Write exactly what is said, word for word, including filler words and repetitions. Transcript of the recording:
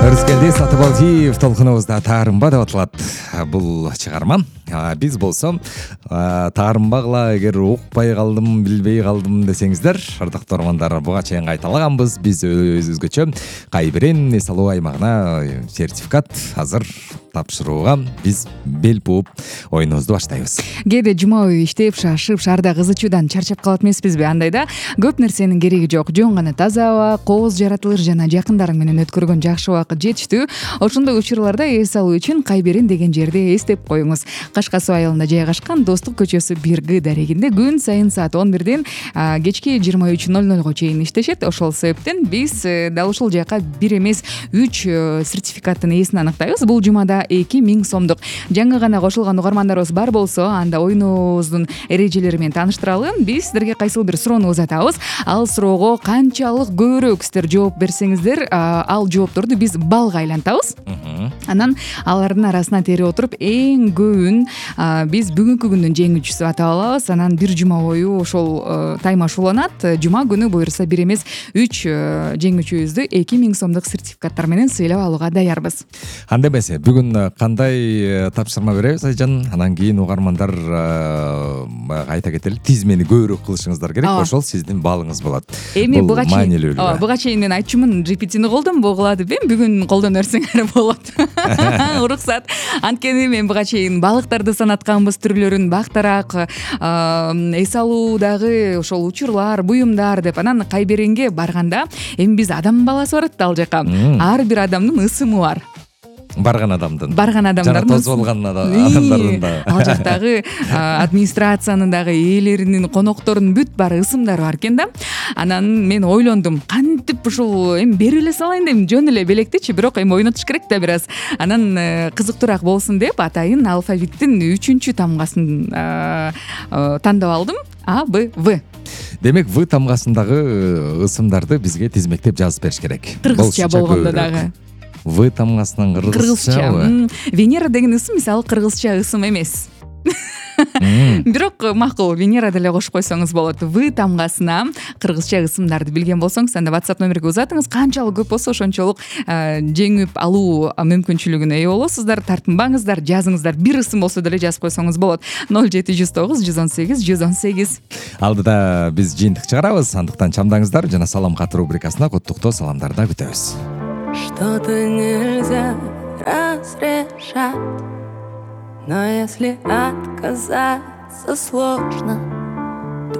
Өрүскелди Сатыбалдиев толкунубузда таарынба деп аталат бул чыгарма. Биз болсо таарынбагыла эгер укпай калдым, билбей калдым десеңиздер, ардактуу угармандар, буга чейин кайталаганбыз. Биз өзүбүзгөчө Кайберен эс алуу аймагына сертификат азыр тапшырууга биз бел бууп оюнубузду баштайбыз. Кээде жума бою иштеп, шашып, шаарда кызычуудан чарчап калат эмеспизби? Андайда көп нерсенин кереги жок. Жөн гана таза аба, кооз жаратылыр жана жакындарың менен өткөргөн жакшы убакыт жетиштүү. Ошондой учурларда эс алуу үчүн Кайберен деген жерди эстеп коюңуз. Кашка суу айылында жайгашкан Достук көчөсү бир Г дарегинде күн сайын саат он бирден кечки жыйырма үч ноль нолго чейин иштешет. Ошол себептен биз дал ушул жака бир эмес үч сертификаттын ээсин аныктайбыз. Бул жумада эки миң сомдук. Жаңы гана кошулган угармандарыбыз бар болсо, анда оюнубуздун эрежелери менен тааныштыралы. Биз сиздерге кайсыл бир суроону узатабыз. Ал суроого канчалык көбүрөөк сиздер жооп берсеңиздер, ал жоопторду биз баллга айлантабыз. Анан алардын арасына терип отуруп эң көбүн биз бүгүнкү күндүн жеңүүчүсү атап алабыз. Анан бир жума бою ошол тайм ашууланат. Жума күнү буюрса бир эмес үч жеңүүчүбүздү эки миң сомдук сертификаттар менен сыйлап алууга даярбыз. Анда эмесе бүгүн кандай тапшырма беребиз Айжан? Анан кийин угармандар айта кетели, тизмени көбүрөөк кылышыңыздар керек. Ошол сиздин балыңыз болот. Эми буга чейин ооба буга чейин мен айтчумун, джи пи ти'ни колдонбогула деп, эми бүгүн колдоно берсеңер болот. Уруксат. Анткени мен буга чейин балыктарды санатканбыз, түрлөрүн, бактарак, эс алуудагы ошол учурлар, буюмдар деп. Анан Кайберенге барганда эми биз адам баласы барат да ал жака. Ар бир адамдын ысымы бар. Барган адамдын. Барган адамдардын. Жана тозуп алган адамдардын да. Ал жактагы администрациянын дагы ээлеринин, коноктордун бүт баары ысымдары бар экен да. Анан мен ойлондум, кантип ушул эми берип эле салайын деп, жөн эле белектичи, бирок эми ойнотуш керек да бир аз. Анан кызыктуураак болсун деп атайын алфавиттин үчүнчү тамгасын тандап алдым. А, Б, В. Демек, В тамгасындагы ысымдарды бизге тизмектеп жазып бериш керек. Кыргызча болгондо дагы. В тамгасынан кыргызчабы? Венера деген ысым мисалы кыргызча ысым эмес. Бирок макул, Венера деле кошуп койсоңуз болот. В тамгасына кыргызча ысымдарды билген болсоңуз, анда WhatsApp номерге узатыңыз. Канчалык көп болсо ошончолук жеңип алуу мүмкүнчүлүгүнө ээ болосуздар. Тартынбаңыздар, жазыңыздар. Бир ысым болсо деле жазып койсоңуз болот. ноль жети жүз тогуз жүз он сегиз жүз он сегиз. Алдыда биз жыйынтык чыгарабыз. Андыктан чамдаңыздар жана салам кат рубрикасына куттуктоо саламдарды күтөбүз. Что-то нельзя разрешать, но если отказаться сложно,